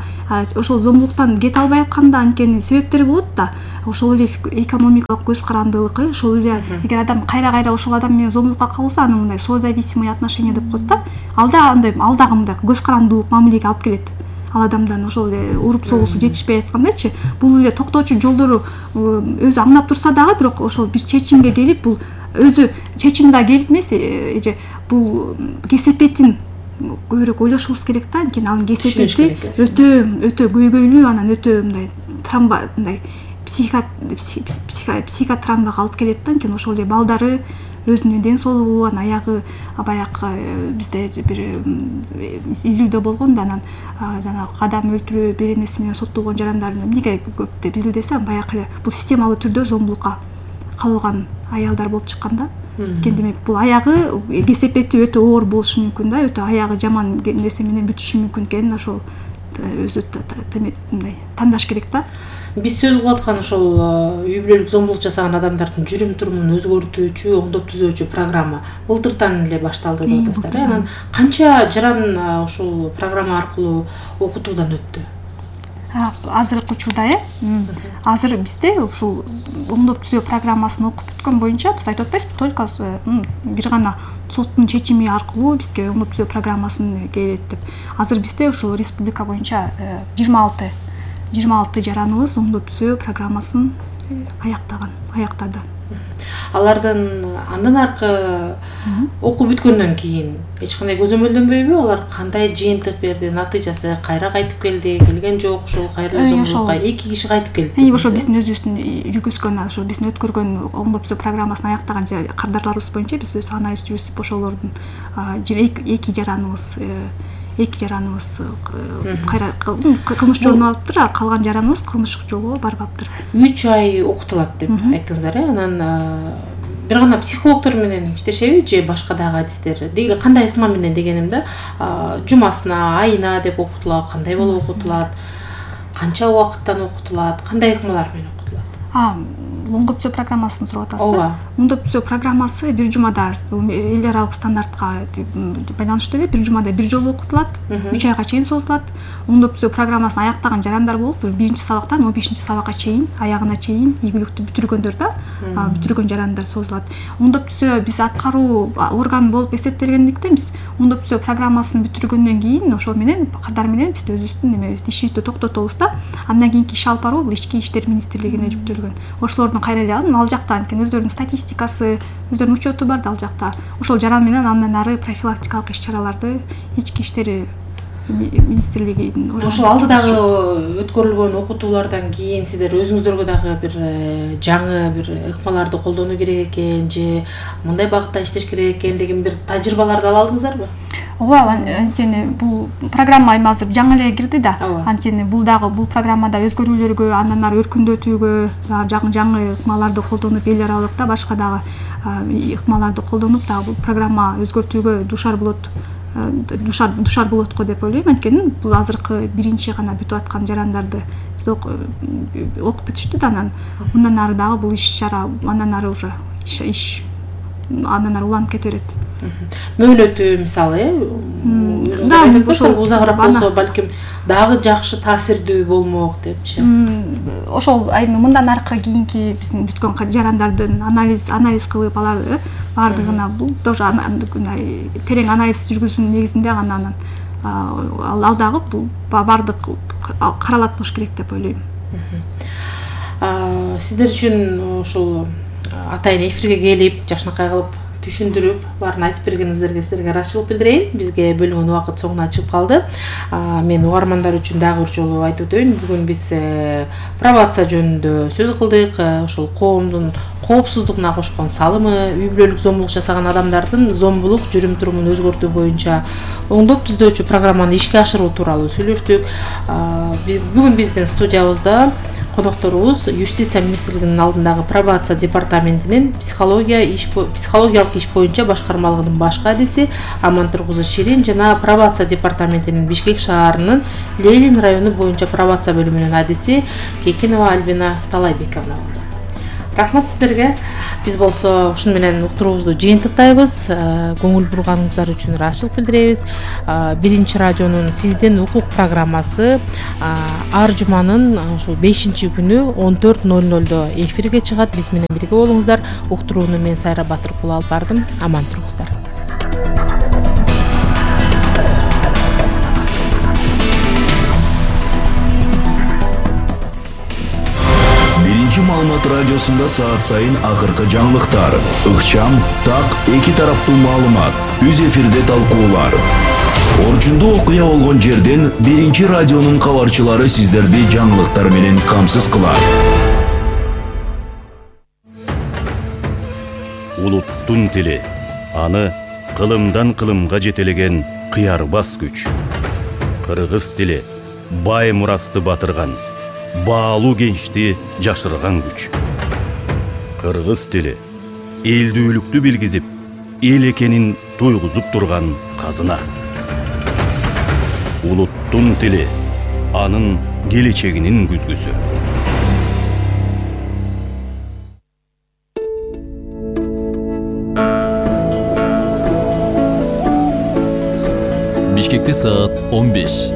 Speaker 1: ошол зомбулуктан кете албай атканда анткени себептери болот да. Ошол эле экономикалык көз карандылык, ошол эле эгер адам кайра кайра ошол адам менен зомбулукка кабылса, аны мындай созависимый отношения деп коет да. Ал да андай ал дагы мындай көз карандылык мамилеге алып келет. Ал адамдан ошол эле уруп согуусу жетишпей аткандайчы, бул эле токтоочу жолдору өзү аңдап турса дагы бирок ошол бир чечимге келип, бул өзү чечим да келип эмес, эже бул кесепетин көбүрөөк ойлошубуз керек да. Анткени анын кесепети өтө өтө көйгөйлүү, анан өтө мындай травма, мындай психо психотравмага алып келет да. Анткени ошол эле балдары өзүнүн ден соолугу, анан аягы баягы бизде бир изилдөө болгон да, анан жанагы адам өлтүрүү беренеси менен соттолгон жарандардын эмнеге көп деп изилдесем, баягы эле бул системалуу түрдө зомбулукка кабылган аялдар болуп чыккан да. Анткени демек бул аягы кесепети өтө оор болушу мүмкүн да, өтө аягы жаман нерсе менен бүтүшү мүмкүн экенин ошол өзү мындай тандаш керек да.
Speaker 2: Биз сөз кылып аткан ошол үй бүлөлүк зомбулук жасаган адамдардын жүрүм турумун өзгөртүүчү, оңдоп түзөөчү программа былтыртан эле башталды деп атасыздар. Анан канча жаран ушул программа аркылуу окутуудан өттү?
Speaker 1: Азыркы учурда э азыр бизде ушул оңдоп түзөө программасын окуп бүткөн боюнча биз айтып атпайбызбы, только бир гана соттун чечими аркылуу бизге оңдоп түзөө программасын келет деп. Азыр бизде ушул республика боюнча жыйырма алты жыйырма алты жараныбыз оңдоп түзөө программасын аяктаган, аяктады.
Speaker 2: Алардын андан аркы окуп бүткөндөн кийин эч кандай көзөмөлдөнбөйбү? Алар кандай жыйынтык берди, натыйжасы кайра кайтып келди, келген жок, ошол кайра зомбулукка эки киши кайтып келди.
Speaker 1: Ошо биздин өзүбүздүн жүргүзгөн, ошо биздин өткөргөн оңдоп түзөө программасын аяктаган кардарларыбыз боюнча биз өз анализ жүргүзүп ошолордун эки жараныбыз эки жараныбыз кайра кылмыш жолуна алыптыр, а калган жараныбыз кылмыш жолго барбаптыр.
Speaker 2: үч ай окутулат деп айттыңыздар э? Анан бир гана психологдор менен иштешеби же башка дагы адистер? Деги кандай ыкма менен дегеним да, жумасына, айына деп окутулат, кандай болуп окутулат, канча убакыттан окутулат, кандай ыкмалар менен окутулат?
Speaker 1: Оңдоп түзөө программасын сурап атасыз. Оңдоп түзөө программасы бир жумада эл аралык стандартка байланыштуу эле бир жумада бир жолу окутулат, үч айга чейин созулат. Оңдоп түзөө программасын аяктаган жарандар болуп, биринчи сабактан он бешинчи сабакка чейин, аягына чейин ийгиликтүү бүтүргөндөр да, бүтүргөн жарандар созулат. Оңдоп түзөө биз аткаруу орган болуп эсептелгендиктен биз оңдоп түзөө программасын бүтүргөндөн кийин ошол менен кардар менен биз өзүбүздүн немебизди ишибизди токтотобуз да. Андан кийинки иш алып баруу бул ички иштер министрлигине жүктөлгөн. Ошолордун кайра эле ал жакта анткени өздөрүнүн статистикасы, өздөрүнүн учету бар да ал жакта. Ошол жаран менен андан ары профилактикалык иш-чараларды ички иштер министрлигинин
Speaker 2: ошол алдыдагы өткөрүлгөн окутуулардан кийин сиздер өзүңүздөргө дагы бир жаңы бир ыкмаларды колдонуу керек экен же мындай багытта иштеш керек экен деген бир тажрыйбаларды ала алдыңыздарбы?
Speaker 1: Ооба, анткени бул программа эми азыр жаңы эле кирди да. Анткени бул дагы бул программада өзгөрүүлөргө, андан ары өркүндөтүүгө, жаңы жаңы ыкмаларды колдонуп эл аралык да башка дагы ыкмаларды колдонуп дагы бул программа өзгөртүүгө душар болот. Душар душар болот го деп ойлойм. Анткени бул азыркы биринчи гана бүтүп аткан жарандарды биз окуп бүтүштү да, анан мындан ары дагы бул иш-чара андан ары уже иш андан ары уланып кете берет.
Speaker 2: Мөөнөтү мисалы э ошол узагыраак болсо балким дагы жакшы таасирдүү болмок депчи.
Speaker 1: Ошол эми мындан аркы кийинки биздин бүткөн жарандардын анализ анализ кылып аларды баардыгына бул тоже терең анализ жүргүзүүнүн негизинде гана анан ал дагы бул баардык каралат болуш керек деп ойлойм.
Speaker 2: Сиздер үчүн ушул атайын эфирге келип, жакшынакай кылып түшүндүрүп баарын айтып бергениңиздерге силерге ыраазычылык билдирейин. Бизге бөлүнгөн убакыт соңуна чыгып калды. Мен угармандар үчүн дагы бир жолу айтып өтөйүн. Бүгүн биз пробация жөнүндө сөз кылдык. Ошол коомдун коопсуздугуна кошкон салымы, үй бүлөлүк зомбулук жасаган адамдардын зомбулук жүрүм турумун өзгөртүү боюнча оңдоп түзүүчү программаны ишке ашыруу тууралуу сүйлөштүк. Бүгүн биздин студиябызда конокторубуз Юстиция министрлигинин алдындагы пробация департаментинин психология иш психологиялык иш боюнча башкармалыгынын баш кадиси Амантур кызы Ширин жана пробация департаментинин Бишкек шаарынын Ленин району боюнча пробация бөлүмүнүн адиси Кекенова Альбина Талайбековна болду. Рахмат сиздерге. Биз болсо ушуну менен уктуруубузду жыйынтыктайбыз. Көңүл бурганыңыздар үчүн ыраазычылык билдиребиз. Биринчи радионун сиздин укук программасы ар жуманын ушул бешинчи күнү он төрт ноль нольдо эфирге чыгат. Биз менен бирге болуңуздар. Уктурууну мен Сайра Батыркул алып бардым. Аман туруңуздар.
Speaker 4: Маалымат радиосунда саат сайын акыркы жаңылыктар, ыкчам, так, эки тараптуу маалымат, үз эфирде талкуулар. Орчундуу окуя болгон жерден биринчи радионун кабарчылары сиздерди жаңылыктар менен камсыз кылат.
Speaker 5: Улуттун тили, аны кылымдан кылымга жетелеген кыярбас күч. Кыргыз тили бай мурасты батырган, баалуу кенчти жашырган күч. Кыргыз тили элдүүлүктү билгизип, эл экенин туйгузуп турган казына. Улуттун тили анын келечегинин күзгүсү.
Speaker 6: Бишкекте саат он беш.